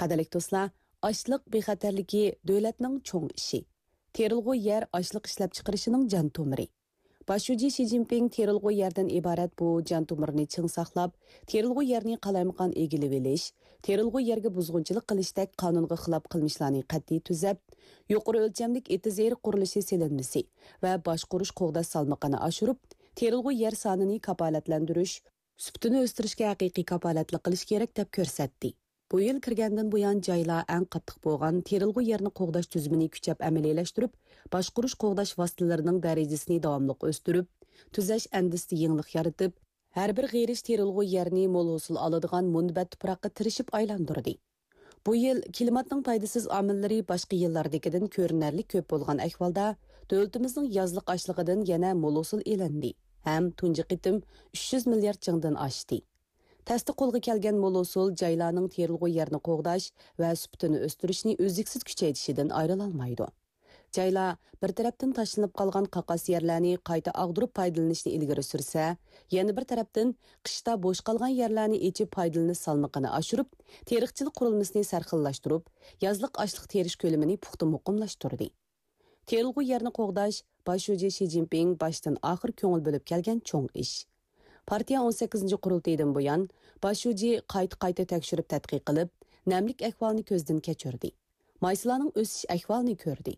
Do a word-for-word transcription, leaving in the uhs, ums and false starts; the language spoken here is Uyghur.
قەدىرلىك دوستلار، ئاشلىق بىخەتەرلىكى دۆلەتنىڭ چوڭ ئىشى. تېرىلغۇ يەر ئاشلىق ئىشلەپچىقىرىشىنىڭ جان تومۇرى. باش شۇجى شى جىنپىڭ تېرىلغۇ يەردىن ئىبارەت بۇ جان تومۇرنى چىڭ ساقلاپ، تېرىلغۇ يەرنى قالايمىقان ئىگىلىۋېلىش، تېرىلغۇ يەرگە بۇزغۇنچىلىق قىلىشتەك قانۇنغا خىلاپ قىلمىشلارنى قەتئىي تۈزەپ، يۇقىرى ئۆلچەملىك ئېتىز ئېرىق قۇرۇلۇشى سېلىنمىسى ۋە باشقۇرۇش قوغداش سالمىقىنى ئاشۇرۇپ، تېرىلغۇ يەر سانىنى كاپالەتلەندۈرۈش، سۈپىتىنى ئۆستۈرۈشكە ھەقىقىي كاپالەتلىك قىلىش كېرەك، دەپ كۆرسەتتى. بۇ يىل كىرگەندىن بۇيان، جايلار ئەڭ قاتتىق بولغان تېرىلغۇ يەرنى قوغداش تۈزۈمىنى كۈچەپ ئەمەلىيلەشتۈرۈپ، باشقۇرۇش قوغداش ۋاسىتىلىرىنىڭ دەرىجىسىنى داۋاملىق ئۆستۈرۈپ، تۈزەش ئەندىزىسىدە يېڭىلىق يارىتىپ، ھەر بىر غېرىش تېرىلغۇ يەرنى مول ھوسۇل ئالىدىغان مۇنبەت تۇپراققا تىرىشىپ ئايلاندۇردى. بۇ يىل كىلىماتنىڭ پايدىسىز ئامىللىرى باشقا يىللاردىكىدىن كۆرۈنەرلىك كۆپ بولغان ئەھۋالدا، دۆلىتىمىزنىڭ يازلىق ئاشلىقىدىن يەنە مول ھوسۇل ئېلىندى ھەم تۇنجى قېتىم ئۈچ يۈز مىليارد چىڭدىن ئاشتى. تەستە قولغا كەلگەن مول ھوسۇل جايلارنىڭ تېرىلغۇ يەرنى قوغداش ۋە سۈپىتىنى ئۆستۈرۈشنى ئۈزلۈكسىز كۈچەيتىشىدىن ئايرىلالمايدۇ. جايلار بىر تەرەپتىن تاشلىنىپ قالغان قاقاس يەرلەرنى قايتا ئاغدۇرۇپ پايدىلىنىشنى ئىلگىرى سۈرسە، يەنە بىر تەرەپتىن قىشتا بوش قالغان يەرلەرنى ئېچىپ پايدىلىنىش سالمىقىنى ئاشۇرۇپ، تېرىقچىلىق قۇرۇلمىسىنى سەرخىللاشتۇرۇپ، يازلىق ئاشلىق تېرىش كۆلىمىنى پۇختا مۇقىملاشتۇردى. تېرىلغۇ يەرنى قوغداش باش شۇجى شى جىنپىڭ باشتىن ئاخىر كۆڭۈل بۆلۈپ كەلگەن چوڭ ئىش. پارتىيە ئون سەككىزىنچى قۇرۇلتىيىدىن بۇيان، باش شۇجى قايتا-قايتا تەكشۈرۈپ تەتقىق قىلىپ، نەملىك ئەھۋالىنى كۆزدىن كەچۈردى. مايسىلارنىڭ ئۆسۈش ئەھۋالىنى كۆردى.